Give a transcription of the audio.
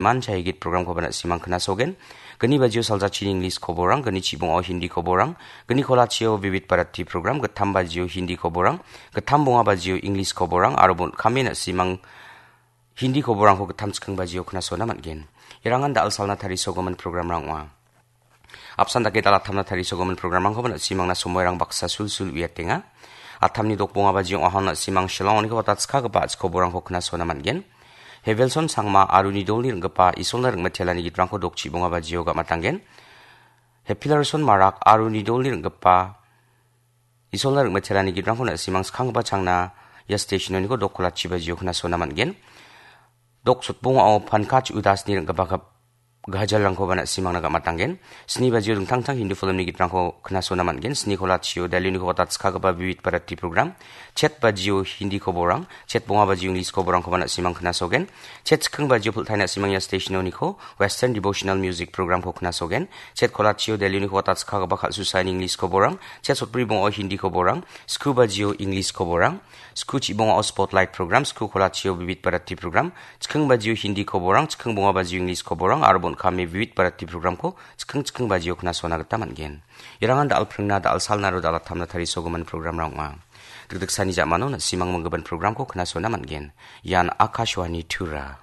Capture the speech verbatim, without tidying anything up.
Man Chahigit programkoba na·simang knasogen. Gni bajio saljachini English koborang, gni chibongao Hindi koborang, gni kolachio Vivid Bharati program, gittam bajio Hindi koborang, gittam bonga bajio English koborang, aro bon kami na·simang Hindi koborangko gittam chikking bajio knasona man·gen. Irangan da·al salna tarisogimin programrang ong·a. Apsan dake da·al attamna tarisogimin programrangkoba na·simangna somoirang baksa sulsul uiatenga. Attamni dokbonga bajio ong·ahon na·simang Shillong-oniko watatskagipa a·chik koborangko knasona man·gen. Hevelson Sangma aro Nidolni ring·gipa Isolna ring·mitelani gitrangko dokchibonga bajio gamatanggen. Hepilarson Marak aro Nidolni ring·gipa Isolna ring·mitelani gitrangko na·simang skanggipa changna ia station-oniko dok kolachi bajio knasona man·gen. Dok sotbongao Pankaj Udasni ring·gipa gap-, gajalrangkoba na·simangna gamatanggen. Sni bajio dingtang dingtang Hindu filmni gitrangko knasona man·gen. Sni kolachio Delhi-oniko watatskagipa Vivid Bharati program. Chet bajio Hindi koborang, chet bonga bajio English koborangkoba na·simang knasogen. Chet chikking bajio pultai na·simang ia station-oniko Western Devotional Music programko knasogen. Chet kolachio Delhi-oniko watatskagipa kal·susaini English koborang, chet sotbri bonga Hindi koborang, sku bajio English koborang, sku chibongao Spotlight program, sku kolachio Vivid Bharati program, chikking bajio Hindi koborang, chikking bonga bajio English koborang, aro bon kami Vivid Bharati programko chikking chikking bajio knasona gita man·gen. Irangan da·al pringna, da·al salna aro da·al attamna tarisogimin programrang ong·a. Dikdiksani ja·mano na·simang minggimin programko knasona man·gen. Ian Akashvani Tura.